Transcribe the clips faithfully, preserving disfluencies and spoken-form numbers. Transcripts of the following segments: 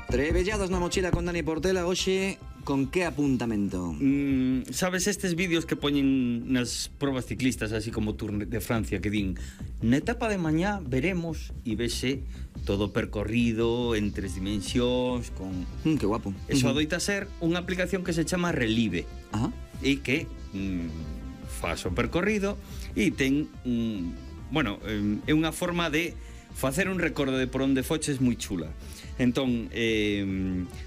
Trebellados na mochila con Dani Portela. Hoxe, con que apuntamento? Mm, sabes estes vídeos que poñen nas probas ciclistas, así como Tour de Francia, que din na etapa de mañá veremos e vese todo percorrido en tres dimensións con... Mm, que guapo. Eso Uh-huh. adoita ser unha aplicación que se chama Relive. Ajá. E que mm, faz o percorrido e ten mm, bueno, eh, é unha forma de facer un recordo de por onde foches moi chula. Entón, eh,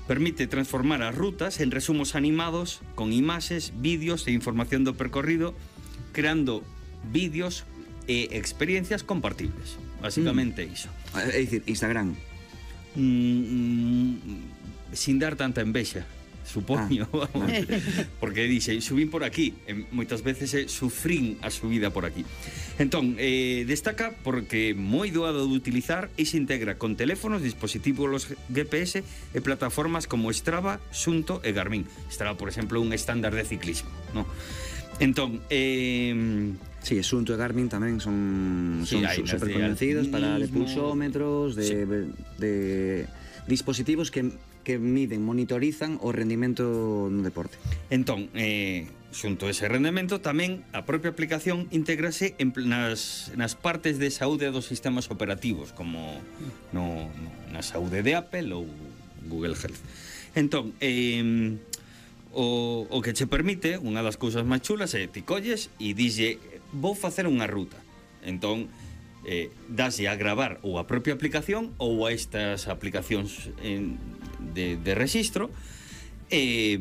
permite transformar as rutas en resumos animados con imaxes, vídeos e información do percorrido, creando vídeos e experiencias compartibles. Básicamente mm. iso. É dicir, Instagram. Mm, sin dar tanta envexa, supoño, ah, vamos. Porque dixe, subín por aquí, e moitas veces é sufrín a subida por aquí. Entón, eh, destaca porque moi doado de utilizar e se integra con teléfonos, dispositivos G P S e plataformas como Strava, Sunto e Garmin. Strava, por exemplo, un estándar de ciclismo, ¿no? Entón, eh... Sí, Sunto e Garmin tamén son, sí, son hai, super conocidos para de pulsómetros, de, sí. de, de dispositivos que, que miden, monitorizan o rendimento no deporte. Entón, eh, xunto a ese rendimento, tamén a propia aplicación integrase en, nas, nas partes de saúde dos sistemas operativos, como no, no, na saúde de Apple ou Google Health. Entón, eh, o, o que che permite, unha das cousas máis chulas é ti colles e dixlle, vou facer unha ruta. Entón, eh, daslle a gravar ou a propia aplicación ou a estas aplicacións en, de, de registro, e,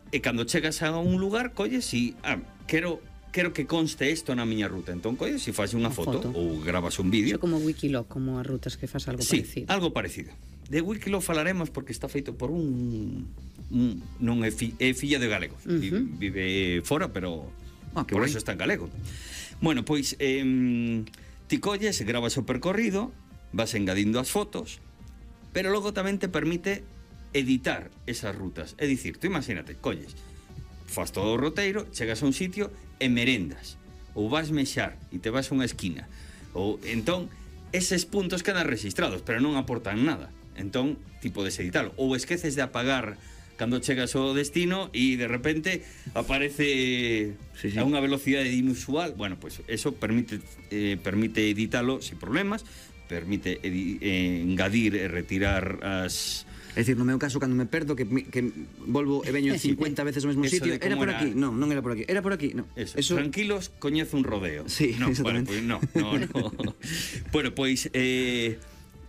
e cando chegas a un lugar, colles e, ah, quero, quero que conste isto na miña ruta. Entón, colles e faz unha foto, foto ou gravas un vídeo. Iso como Wikiloc, como as rutas que faz algo sí, parecido. algo parecido. De Wikiloc falaremos porque está feito por un... un non é, fi, é filla de galegos. Uh -huh. Vive fora, pero ah, por eso está en galego. Bueno, pois eh, ti colles, gravas o percorrido, vas engadindo as fotos, pero logo tamén te permite editar esas rutas. É dicir, tú imagínate, colles, faz todo o roteiro, chegas a un sitio e merendas, ou vas mexar e te vas a unha esquina, ou entón eses puntos quedan registrados, pero non aportan nada. Entón, ti podes editalo, ou esqueces de apagar cando chegas ao destino e de repente aparece sí, sí. a unha velocidade inusual. Bueno, pues eso permite eh, permite editalo sin problemas, permite edi eh, engadir e retirar as... É dicir, no meu caso, cando me perdo, que, que volvo e veño cincuenta veces ao mesmo sitio, era por era... aquí, non, non era por aquí, era por aquí, non. Eso, eso... Tranquilos, coñece un rodeo. Sí, no, exactamente. Bueno, pues no, no, no. Bueno, pois... Eh...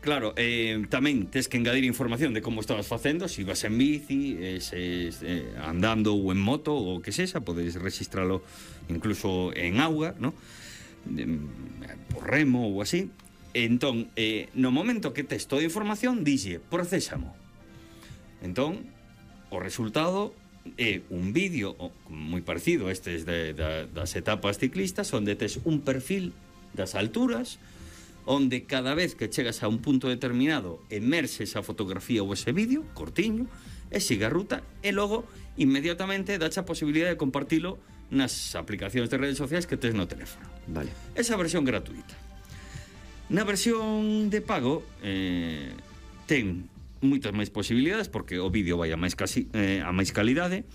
Claro, eh, tamén tes que engadir información de como estabas facendo, se si vas en bici, eh, se, eh, andando ou en moto ou que sexa, podes registralo incluso en auga, ¿no? Eh, por remo ou así. Entón, eh, no momento que tes toda a información, dixe, procésamo. Entón, o resultado é un vídeo moi parecido a estes de, de, das etapas ciclistas, onde tes un perfil das alturas, onde cada vez que chegas a un punto determinado emerses a fotografía ou ese vídeo, cortiño, e siga a ruta, e logo inmediatamente dache a posibilidade de compartilo nas aplicacións de redes sociais que tes no teléfono. Vale. Esa versión gratuita. Na versión de pago eh, ten moitas máis posibilidades porque o vídeo vai a máis, casi, eh, a máis calidade,